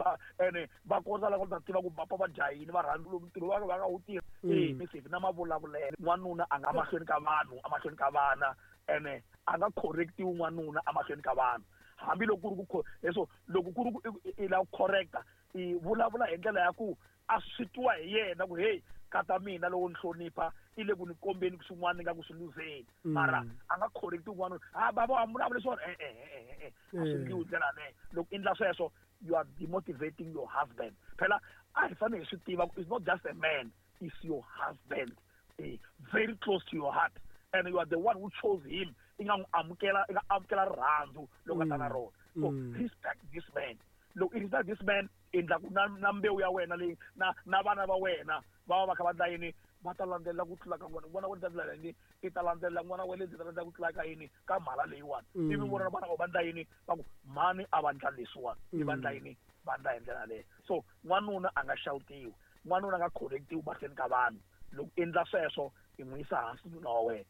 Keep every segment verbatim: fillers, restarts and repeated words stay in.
Va ene va kota la ku ta tiva ku papa va jahini, va rhandza ntirho va va nga wu tirhi. Mm. E na mavulavulelo, n'wanuna a nga mahlweni ka vanhu, emahlweni ka vana, ene a nga correctiwi n'wanuna emahlweni ka vanhu. Hambiloko ku ri ku leswo, loko ku ri ku i lava ku correcta, i vulavula hi ndlela ya ku a swi twiwa hi yena ku, "Hey, kata mina loko ni hlonipha i le ku ni kombeni swin'wana ni nga ku swi luzeni." Mara a nga correcti un'wana, "Ha baba, wa vulavula swona." E e e e a swi endliwi hi ndlela yaleyo. Loko i endla sweswo, you are demotivating your husband. Phela a hi fanele hi swi tiva ku it's not just a man, it's your husband, eh, very close to your heart, and you are the one who chose him. I nga n'wi amukela, i nga amukela rirhandzu loko a ta na rona. So respect this man. Loko i respect this man, endla ku na na mbewu ya wena leyi na na vana va wena va va va kha va endla yini, va ta landzelela ku tlula ka n'wana. N'wana wa ta ndlela yini, i ta landzelela n'wana wa le ta landzelela ku tlula ka yini, ka mhala leyiwani. Ivi vona vana va va endla yini, va ku mhani a va endla leswiwani, i va endla yini, va endla hi ndlela yaleyo. So n'wanuna a nga xawutiwi, n'wanuna a nga correctiwi mahlweni ka vanhu. Loko endla sweswo, i n'wi yisa hansi nuna wa wena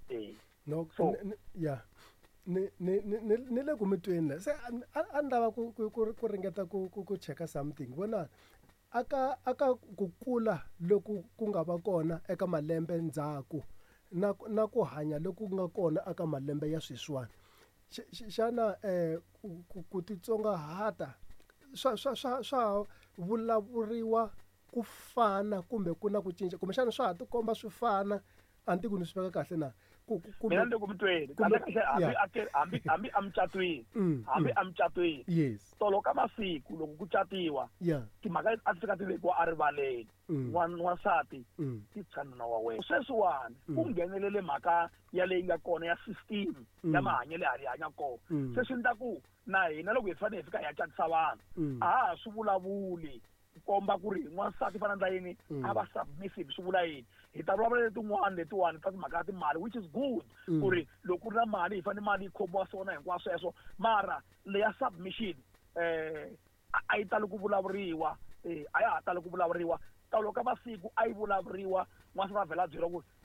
eh. No. So ya, ni ni ni ni le ku mi tweni la. Se a a ni lava ku ku ku ku ringeta ku ku ku cheka something. Vona, aka aka ku kula loku ku nga va kona eka malembe ndzhaku na na ku hanya loku nga kona aka malembe ya sweswiwani, xana eh ku ku titsongahata swa swa swa swa vulavuriwa ku fana, kumbe ku na ku cinca, kumbexana swa ha tikomba swi fana? A ni tivi ku ni swi veka kahle na. Mina ni le ku mi tweni kahle kahle. Hambi a hambi hambi emucatweni, hambi emucatweni, yes tolo ka masiku loko ku catiwa, yeah timhaka leti a ti fika ti vekiwa erivaleni. N'wansati ti tshwa nuna wa wena. Sweswiwani ku nghenelele mhaka ya leyi nga kona ya system ya mahanyelo ya hi hanya kona. Se swi endla ku na hina loko hi fanele hi fika hi ya catisa vanhu, a ha ha swi vulavuli ku komba ku ri n'wansati fana ndla yini, a va submissive swi vula yini. Hi ta vulavula letin'wana letiwani ta timhaka ta timali, which is good, ku ri loko ku ri na mali, hi fanele mali yi khomiwa swona hinkwaswo sweswo. Mara leya submission eh a yi tali ku vulavuriwa, eh a ya ha tali ku vulavuriwa. Tolo ka masiku a yi vulavuriwa, n'wansati a vhela a byeriwa ku